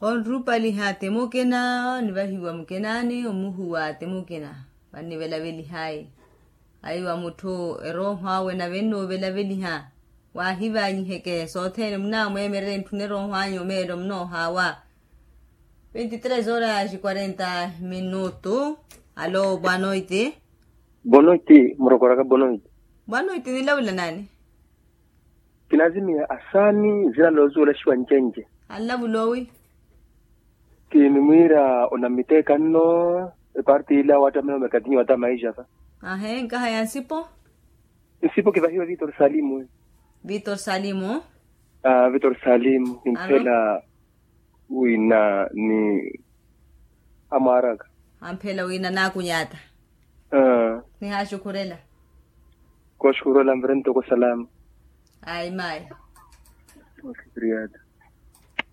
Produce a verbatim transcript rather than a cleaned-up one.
Onrupaliha ti mukina, onivahiwa mukinani omuhuwa ti mukina. Vannivelavelihai aiwa mutthu erooho awe nave nnuuvelaveliha. Waahivanyiheke sothene munamweemererye ntthuna erooho anyu omeelo munoohaawa. Vinti tres horas quarenta minutu. Alo boa noite. Boa noite murokoraka boa noite. Boa noite nilavula nani? Kinazimiya asani zina loozuwela xiwa ncenje. Anlavula owi? Kinimwiira onammitteeka nno eparti ila wattamela omekatinyi watta maixaka. Ahe nkaha ya nsipo? Nsipo kivahiwe vitor salimu. Vitor salimu. Vitor salimu kimphela wina ni amwaraka. Amphela wina naakunyatta. Nihaxukhurela. Kooxukhurela mvirentoko salama. Ayi mayi. Oxukhuriyata.